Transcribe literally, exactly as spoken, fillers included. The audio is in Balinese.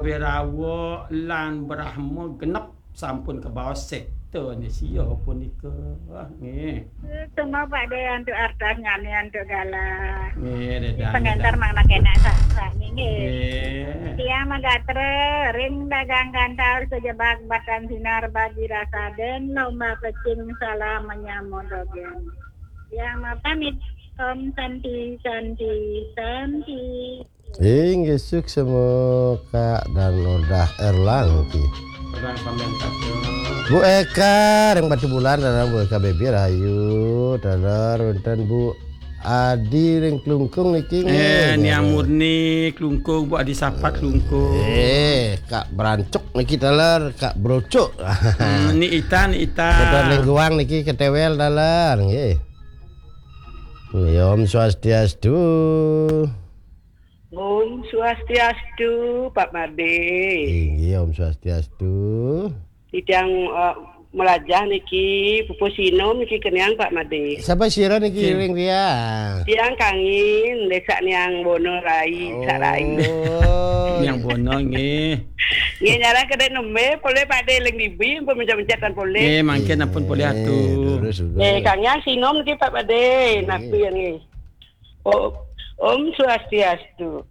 Berawa lan Brahma genep sampun kabaos sekte ne sia punika. Nggih. Semua Pak De antuk artas ngane antuk galah. Nggih, Dedan. Pengantar Dedan. Mang nak enak sah nggih. Nggih. Tiang magatra ring dagang kantor sejebak batang sinar bagi rasa den lomba pecing salah menyamodogén. Tiang mau pamit. Om Santi, Santi, Santi. Inggih suksma Kak dan Odah Erlang ki. Orang pamian kata. Bu Eka ring Batubulan, dalam Bu Eka Baby rahayu, dalam wonten Bu Adi ring Klungkung niki. Eh, nggih, Niang dalam. Murni Klungkung, Bu Adi Sapat Klungkung. Eh, Kak Brancuk niki taler, Kak Brocuk. Hmm, Ni Ita, Ni Ita. Dalam Lengguang niki ketewel taler nggih. Nggih, Om Swastiastu. Om Swastiastu, Pak Made. Inggih, Om Swastiastu. Titiang eh, melajah niki pupuh sinom niki keniang Pak Made. Sapa sira niki Kin. Ring dia? Tiang Kangin, Desa Niang Bono Rai, oh. Sarai. Niang Bono nggih. Nggih nyarang kedek nembe, polih Pak De ling dibi, ampun mencet-mencetan polih. Nggih, mangkin ampun polih atu. Terus, terus. Eh, Kang Yang sinom niki Pak Made, nggih. Napi yang nggih. Oh, Om Swastiastu.